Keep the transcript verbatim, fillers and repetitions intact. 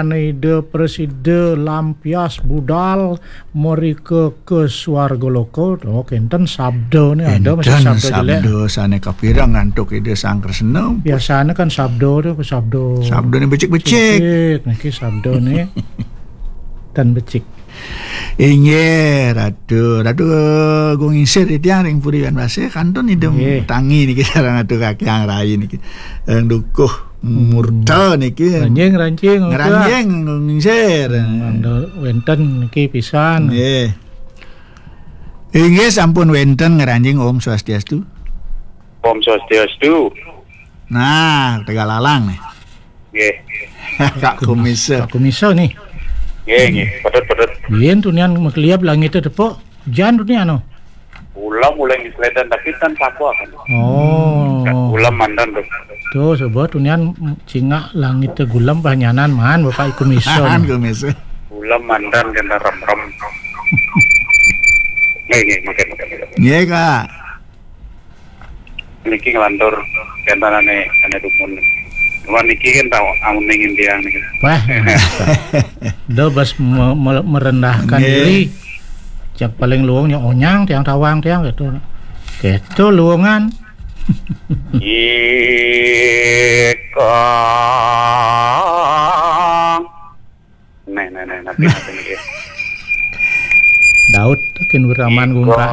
Ida prasida lampias budal mrika ka swarga loka. Oh, kenten sabda ni ada masih Enten sabda jelek. Sabda sane kapira ngantuk Ida Sang Kresna. Biasane kan sabda tu, sabda. Sabda ni becik-becik. Becik, niki sabda ni. Tan becik. Inggih, Ratu. Ratu, eh, Gung Ingsir titiang ring Puri Wanbasih, kantun Ida Nggih. Tangi niki sareng Ratu Kakyang Rai niki. Ring dukuh murta niki. Ranjing, ranjing, Ngranjing, Gung Ingsir. Hmm, wenten niki pisan. Nggih. Inggih, sampun wenten ngranjing. Om Swastiastu. Om Swastiastu. Nah, Tegal Alang nih. Nggih. Kak Kumisa. Kak Kumisa nih. Nggih, nggih. Pedot, pedot. Yen tunian makliap langit tepuk, jan tunian no. Ulam uleng di Sledan, tapi tan sapa kan. Oh. Ulam mandan tu. Tu sebab tunian cingak langit te gulam banyanan man Bapak Kumisa. Man Kumisa. Ulam mandan kena rem-rem. Nggih, nggih, mungkin, mungkin, mungkin. Nggih, Kak. Niki nglantur kenten ane, ane dumun. Cuma niki kan tau amun ning indiang niki. Wah. Do bas me- me- merendahkan Nggih. Diri. Cak paling luungnya onyang tiang tawang tiang gitu. Gitu luungan. Ika. Neh, neh, neh, nanti, nanti, nanti. Daud kin wiraman gungka.